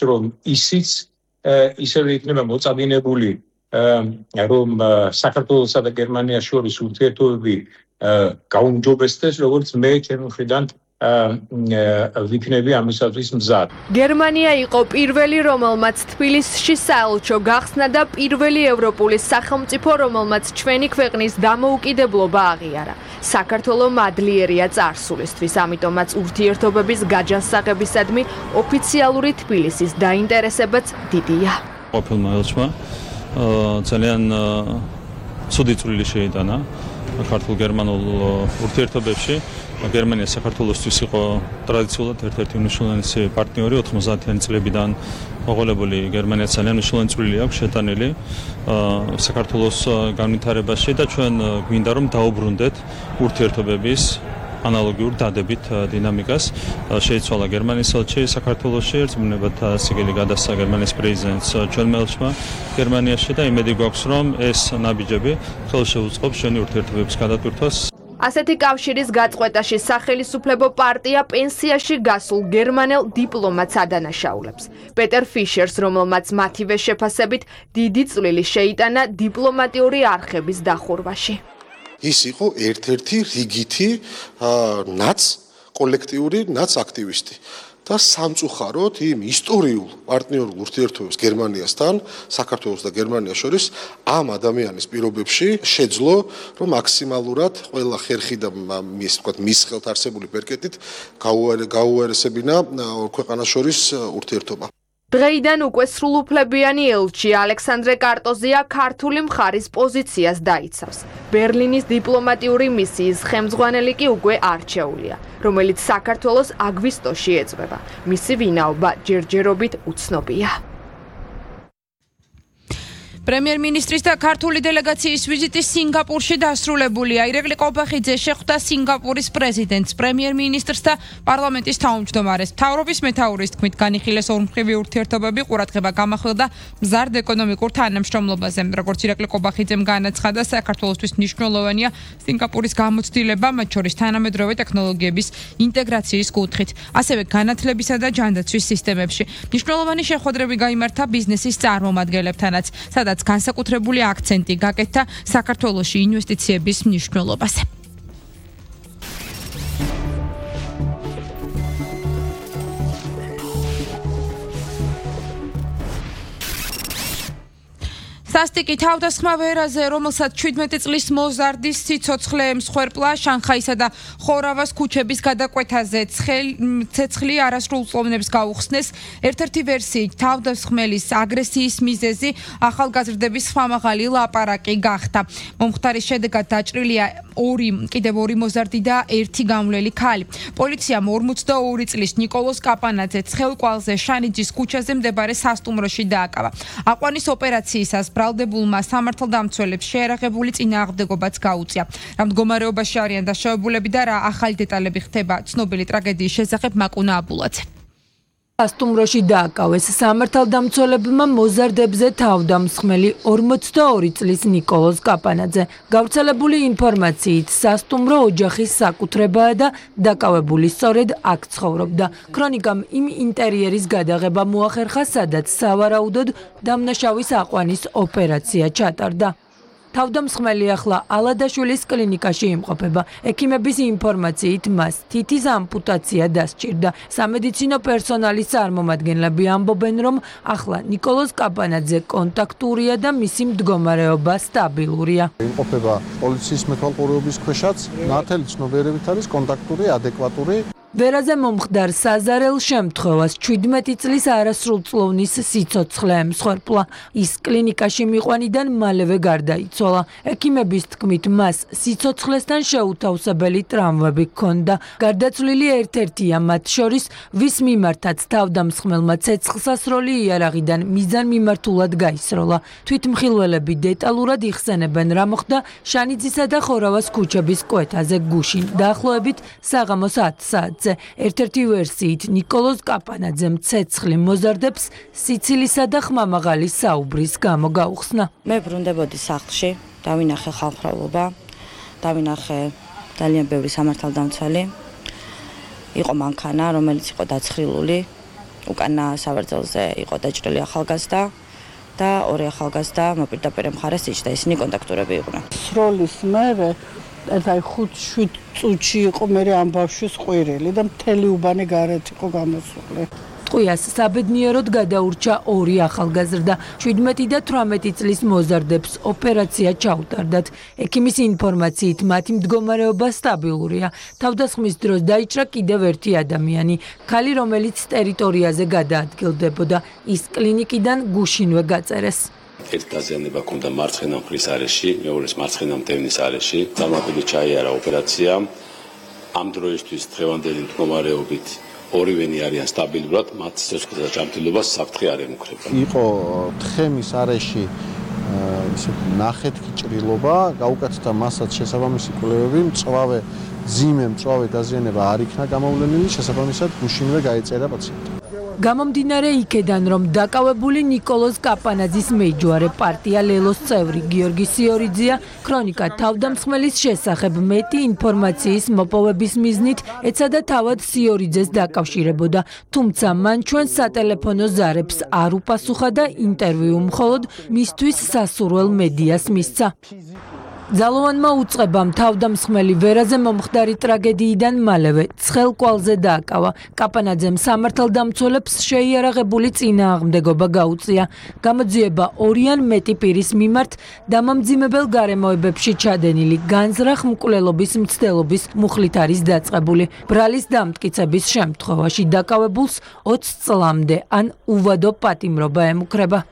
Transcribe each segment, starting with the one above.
რომ ისიც ისევე იქნება მოწადინებული რომ საქართველოსა და გერმანიას შორის ურთიერთობები გაუმჯობესდეს, როგორც მე ჩემი მხრიდან ვიქნები ამისათვის მზად. გერმანია იყო პირველი, რომელმაც თბილისში საელჩო გახსნა და პირველი ევროპული სახელმწიფო, რომელმაც ჩვენი ქვეყნის დამოუკიდებლობა აღიარა. საქართველო მადლიერია წარსულისთვის, ამიტომაც ურთიერთობების გაჯანსაღებისადმი ოფიციალური თბილისის დაინტერესებაც დიდია. ყოფილმა ელჩმა ძალიან ცუდი წვლილი შეიტანა ქართულ-გერმანულ ურთიერთობებში. გერმანია საქართველოსთვის იყო ტრადიციულად ერთ-ერთი მნიშვნელოვანი პარტნიორი 90-იანი წლებიდან მოყოლებული. გერმანია ძალიან მნიშვნელოვანი წვლილი აქვს შეტანილი საქართველოს განვითარებაში და ჩვენ გვინდა რომ დაუბრუნდეთ ურთიერთობების ანალოგიურ დადებით დინამიკას. შეიცვალა გერმანიის ელჩი საქართველოში, ერთმანეთად სიგელი გადასცა გერმანიის პრეზიდენტს ჩვენმა ელჩმა გერმანიაში და იმედი გვაქვს რომ ეს ნაბიჯები ხელშეუწყობს ჩვენი ურთიერთობების გადატვირთვას. ასეთი კავშირის გაწყვეტაში სახელისუფლებო პარტია პენსიაში გასულ გერმანელ დიპლომატს ადანაშაულებს. პეტერ ფიშერს, რომელმაც მათივე შეფასებით დიდი წვლილი შეიტანა დიპლომატიური არხების დახურვაში. ის იყო ერთ-ერთი რიგითი კოლექტიური აქტივისტი და სამწუხაროდ იმ ისტორიულ პარტნიორულ ურთიერთობებს გერმანიასთან, საქართველოს და გერმანიას შორის ამ ადამიანის პირობებში შეძლო, რომ მაქსიმალურად ყველა ხერხი და მის ხელთ არსებული ბერკეტით გაუარესებინა ორ ქვეყანას შორის ურთიერთობა. დღეიდან უკვე სრულუფლებიანი ელჩი ალექსანდრე კარტოზია ქართული მხარის პოზიციას დაიცავს. ბერლინის დიპლომატიური მისიის ხელმძღვანელი კი უკვე არჩეულია, რომელიც საქართველოს აგვისტოში ეწვება. მისი ვინაობა ჯერჯერობით უცნობია. პრემიერ-მინისტრის და ქართული დელეგაციის ვიზიტი სინგაპურში დასრულებულია. ირაკლი ყობახიძე შეხვდა სინგაპურის პრეზიდენტს, პრემიერ-მინისტრს და პარლამენტის თავმჯდომარეს. მთავრობის მეთაურის თქმით, განიხილეს ორმხრივი ურთიერთობები, ყურადღება გამახვილდა მზარდ ეკონომიკურ თანამშრომლობაზე. როგორც ირაკლი ყობახიძემ განაცხადა, საქართველოსთვის მნიშვნელოვანია სინგაპურის გამოცდილება, მათ შორის თანამედროვე ტექნოლოგიების ინტეგრაციის კუთხით, ასევე განათლებისა და ჯანდაცვის სისტემებში. მნიშვნელოვანი შეხვედრები გაიმართა ბიზნესის წარმომადგენლებთანაც, სადაც განსაკუთრებული აქცენტი გაკეთდა საქართველოში ინვესტიციების მნიშვნელობაზე. სასტიკი თავდასხმა ვერაზე, რომელსაც 17 წლის მოზარდის სიცოცხლე ემსხვერპლა შანხაისა და ხორავას ქუჩების გადაკვეთაზე ცეცხლი არასრულწლოვნებს გაუხსნეს. ერთ-ერთი ვერსიით თავდასხმელის აგრესიის მიზეზი ახალგაზრდების ხმამაღალი ლაპარაკი გახდა. მომხდარის შედეგად დაჭრილია კიდევ ორი მოზარდი და ერთი გამვლელი ქალი. პოლიციამ 42 წლის ნიკოლოზ კაპანაძე ცხელკვალზე შანიძის ქუჩაზე მდებარე სასტუმროში დააკავა. აყვანის ოპერაციისას ბრალდებულმა სამართალდამცველებს შეერაღებული წინააღმდეგობაც გაუწია. რა მდგომარეობაში არიან დაშავებულები და რა ახალი დეტალები ხდება ცნობილი ტრაგედიის შესახებ მაკუნა აბულაძე. სასტუმროში დააკავეს სამართალდამცველებმა მოზარდებზე თავდამსხმელი 42 წლის ნიკოლოზ კაპანაძე. გავრცელებული ინფორმაციით სასტუმრო ოჯახის საკუთრებაა და დაკავებული სწორედ აქ ცხოვრობდა. ქრონიკამ იმ ინტერიერის გადაღება მოახერხა, სადაც სავარაუდოდ დამნაშავის აყვანის ოპერაცია ჩატარდა. თავდამსხმელი ახლა ალადაშვილის კლინიკაში იმყოფება. ექიმების ინფორმაციით მას თითის ამპუტაცია დასჭირდა. სამედიცინო პერსონალის წარმომადგენლები ამბობენ, რომ ახლა ნიკოლოზ კაპანაძე კონტაქტურია და მისი მდგომარეობა სტაბილურია. იმყოფება პოლიციის მეთვალყურეობის ქვეშაც, ნათელი ცნობიერებით არის კონტაქტური, ადეკვატური. ვერაზე მომხდარ საზარელ შემთხვევას 17 წლის არასრულწლოვნის სიცოცხლე ემსხვერპლა. ის კლინიკაში მიყვანიდან მალევე გარდაიცვალა. ექიმების თქმით, მას სიცოცხლესთან შეუთავსებელი ტრავმები ჰქონდა. გარდაცვლილი ერთ-ერთია მათ შორის, ვის მიმართაც თავდამსხმელმა ცეცხლსასროლი იარაღიდან მიზანმიმართულად გაისროლა. თვითმხილველები დეტალურად იხსენებენ, რა მოხდა შანიძისა და ხორავას ქუჩების კვეთაზე გუშინ, დაახლოებით საღამოს 10 საათზე. ერთ-ერთი ვერსიით ნიკოლოზ კაპანაძემ ცეცხლი მოზარდებს სიცილისა და ხმამაღალი საუბრის გამო გაუხსნა. მე ბრუნდებოდი სახლში, დავინახე ხალხმრავლობა, დავინახე ძალიან ბევრი სამართალდამცველი. იყო მანქანა, რომელიც იყო დაცხრილული, უკანა სავარძელზე იყო დაჭრილი ახალგაზრდა და ორი ახალგაზრდა მოპირდაპირ მხარეს იჭდა, ისინი კონტაქტურები იყვნენ. სროლის მერე აი 5-7 წუთში იყო მე ამ ბავშვის ყვირილი და მთელი უბანი გარეთ იყო გამოსული. ტყვიას საბედნიეროდ გადაურჩა ორი ახალგაზრდა. 17 და 18 წლის მოზარდებს ოპერაცია ჩაუტარდათ. ექიმის ინფორმაციით მათი მდგომარეობა სტაბილურია. თავდასხმის დროს დაიჭრა კიდევ ერთი ადამიანი, ქალი, რომელიც ტერიტორიაზე გადაადგილდებოდა. ის კლინიკიდან გუშინვე გაწერეს. ერთ დაზიანება ჰქონდა მარცხენა მხრის არეში, მეორეს მარცხენა მტევნის არეში. დამატებით ჩაიარა ოპერაცია. ამ დროისთვის დღევანდელი მდგომარეობით ორივენი არიან სტაბილურად, მათ სიცოცხლეთა და ჭამტილობას საფრთხე არ ემუქრება. იყო თხემის არეში ნახეთქი ჭრილობა, გაუკეთდა მასაც შესაბამისი კვლევები, მწვავე დაზიანება არ იქნა გამოვლენილი, შესაბამისად გუშინვე გაეწერა პაციენტი. გამომდინარე იქედან, რომ დაკავებული ნიკოლოზ კაპანაძის მეჯვარე პარტია ლელოს წევრი გიორგი სიორიძეა, ქრონიკა თავდამსხმელის შესახებ მეტი ინფორმაციის მოპოვების მიზნით ეცადა თავად სიორიძეს დაკავშირებოდა, თუმცა მან ჩვენ სატელეფონო ზარებს არ უპასუხა და ინტერვიუ მხოლოდ მისთვის სასურველ მედიას მისცა. ძალოვანმა უწყებამ თავდამსხმელი ვერაზე მომხდარი ტრაგედიიდან მალევე ცხელ კვალზე დააკავა. კაპანაძემ სამართალდამცველებს შეიარაღებული წინააღმდეგობა გაუწია. გამოძიება ორი ან მეტი პირის მიმართ დამამძიმებელ გარემოებებში ჩადენილი განზრახ მკვლელობის მცდელობის მუხლით არის დაწყებული. ბრალის დამტკიცების შემთხვევაში დაკავებულს 20 წლამდე ან უვადო პატიმრობა ემუქრება.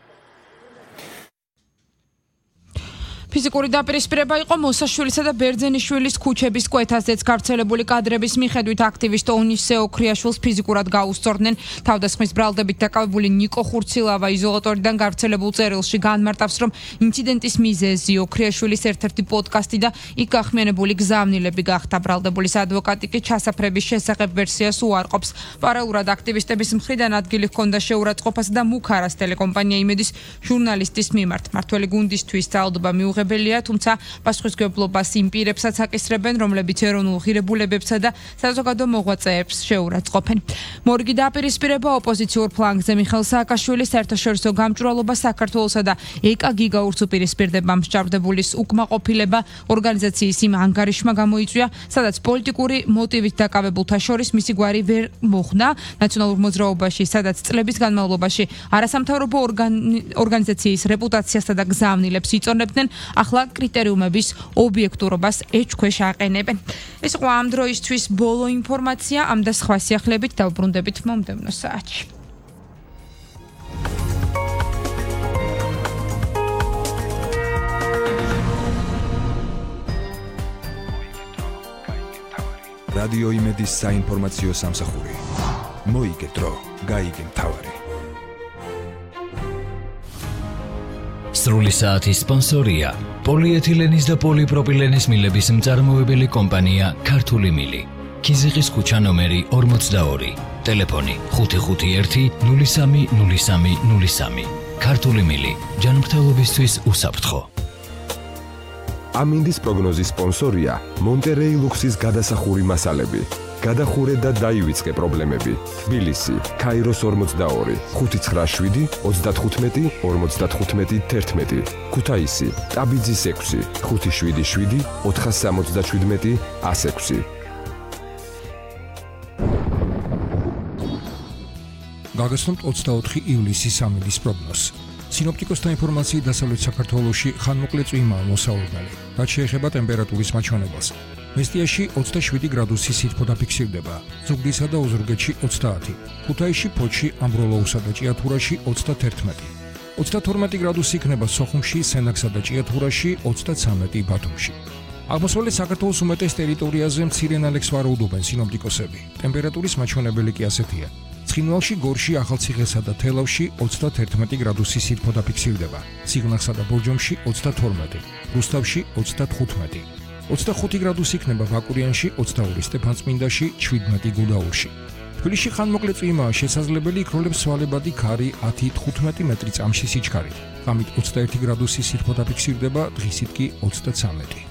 ფიზიკური დაპირისპირება იყო მოსაშვილისა და ბერძენიშვილის ქუჩების კვეთაზეც გავრცელებული კადრების მიხედვით აქტივისტ ონისე ოქრიაშვილს ფიზიკურად გაუსწორდნენ. თავდასხმის ბრალდებით დაკავებული ნიკო ხურცილავა იზოლატორიდან გავრცელებულ წერილში განმარტავს, რომ ინციდენტის მიზეზი ოქრიაშვილის ერთ-ერთი პოდკასტი და იქ გახმიანებული გზავნილები გახდა. ბრალდებულის ადვოკატი კი ჩასაფრების შესახებ ვერსიას უარყოფს. პარალელურად აქტივისტების მხრიდან ადგილი ჰქონდა შეურაცხყოფასა და მუქარას ტელეკომპანია იმედის ჟურნალისტის მიმართ. მართველი გუნდისთვის ძალადობა მიუღებელია, თუმცა პასუხისმგებლობას იმ პირებსაც აკისრებენ, რომლებიც ეროვნულ ღირებულებებსა და საზოგადო მოღვაწეებს შეურაცხყოფენ. მორგი დაპირისპირება ოპოზიციურ ფლანგზე მიხეილ სააკაშვილის საერთაშორისო გამჭვირვალობა საქართველოსა და ეკაგი გაურც უპირისპირდება მსჯავრდებულის უკმაყოფილება ორგანიზაციის იმ ანგარიშმა გამოიწვია, სადაც პოლიტიკური მოტივით დაკავებულთა შორის მისი გვარი ვერ მოხდა. ნაციონალურ მოძრაობაში, სადაც წლების განმავლობაში არასამთავრობო ორგანიზაციის რეპუტაციასა და გზავნილებს იწონებდნენ, ახლა კრიტერიუმების ობიექტურობას ეჭქვეშ აყენებენ. ეს იყო ამ დროისთვის ბოლო ინფორმაცია, ამ და სხვა სიახლეებით დავბრუნდებით მომდევნო საათში. რადიო იმედის საინფორმაციო სამსახური. მოიგე დრო, გაიგე მთავარი. სრული საათის სპონსორია პოლიეთილენის და პოლიპროპილენის მილების მწარმოებელი კომპანია ქართული მილი. ქიზიყის ქუჩა ნომერი 42, ტელეფონი 551 03 03 03. ქართული მილი, ჯანმრთელობისთვის უსაფრთხო. ამინდის პროგნოზის სპონსორია მონტერეი ლუქსის გადასახური მასალები. გადახურე და დაივიწყე პრობლემები. თბილისი, ქაიროს 42, 597 35 55 11. ქუთაისი, ტაბიძის 6, 577 477 106. გაგაცნობთ 24 ივლისის ამინდის პროგნოზს. სინოპტიკოსთა ინფორმაციით დასავლეთ საქართველოში ხანმოკლე წვიმაა მოსაუბრებელი. რაც შეეხება ტემპერატურის მაჩვენებელს. მესტიაში 27 გრადუსი სითბო დაფიქსირდება, ზუგდიდსა და ოზურგეთში 30, ქუთაისში, ფოთში, ამბროლოუსა და ჭიათურაში 31. 32 გრადუსი იქნება სოხუმში, სენაკსა და ჭიათურაში, 33 ბათუმში. აღმოსავლეთ საქართველოს უმეტეს ტერიტორიაზე მცირე ნალექს ვარაუდობენ სინოპტიკოსები. ტემპერატურის მაჩვენებელი კი ასეთია. ცხინვალში, გორში, ახალციხესა და თელავში 31 გრადუსი სითბო დაფიქსირდება, სიღნაღსა და ბორჯომში 32, რუსთავში 35. 25 გრადუსი იქნება ვაკურიანში, 22 სტეფანწმინდაში, 17 გუდაურში. თბილისში ხანმოკლე წვიმაა შესაძლებელი, იქროლებს სვალებადი ქარი 10-15 მეტრი წამში სიჩქარით. ღამით 21 გრადუსი სითბო დაფიქსირდება, დღისით კი 33.